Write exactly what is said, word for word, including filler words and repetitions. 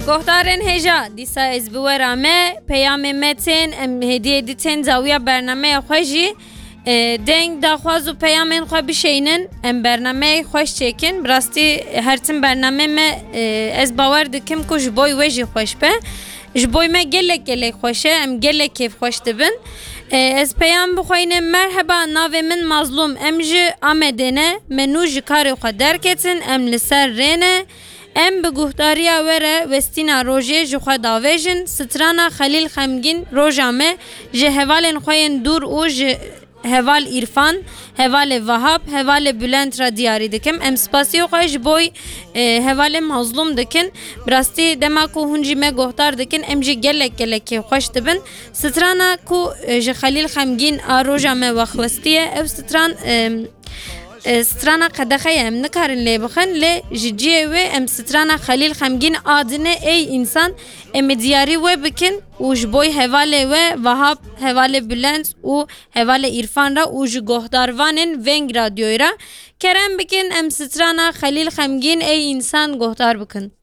Gohdarên hêja, dîsa ez bi we re me, peyamê me tên, em hêdiyê dî tên zawiya bernameya xwe jî, e, deng, daxwaz û peyamên xwe bişeynin, em bernameyê xweş çêkin. Bi rastî her tim bernamê me, e, ez bawer dikim ku ji boy we jî xweş be. Ji boy me gelek gelek xweş e, em gelek kêfxweş dibin. E, ez peyam bixweynim, merheba, navê min Mazlûm, em ji Amedê ne, me nû ji karê xwe derketin, em li ser rê ne. Em bi guhdariya we re westîna rojê ji xwe davêjin. Strana Xelîl Xemgîn, roja me, ji hevalên xwe yên dûr û ji heval Îrfan, hevalê Vahap, hevalê Bülent re diyarî dikim. Em spasiya xwe ji boy, e, hevalê Mazlûm dikin. Bi rastî dema ku hûn jî me guhdar dikin, em jî gelek gelek kêfxweş dibin. Strana ku, e, ji Xelîl Xemgîn a roja me wexwestiye, ew stran, e, e, strana qedexe ye, em nikarin lê bixin, lê ji cihê wê em strana Xelîl Xemgîn a dinê ey însan, em ê diyarî we bikin û ji boy hevalê we Vahap, hevalê Bülent û hevalê Îrfan re û ji gohdarvanên Veng Radyoyê re kerem bikin, em strana Xelîl Xemgîn ey însan gohdar bikin.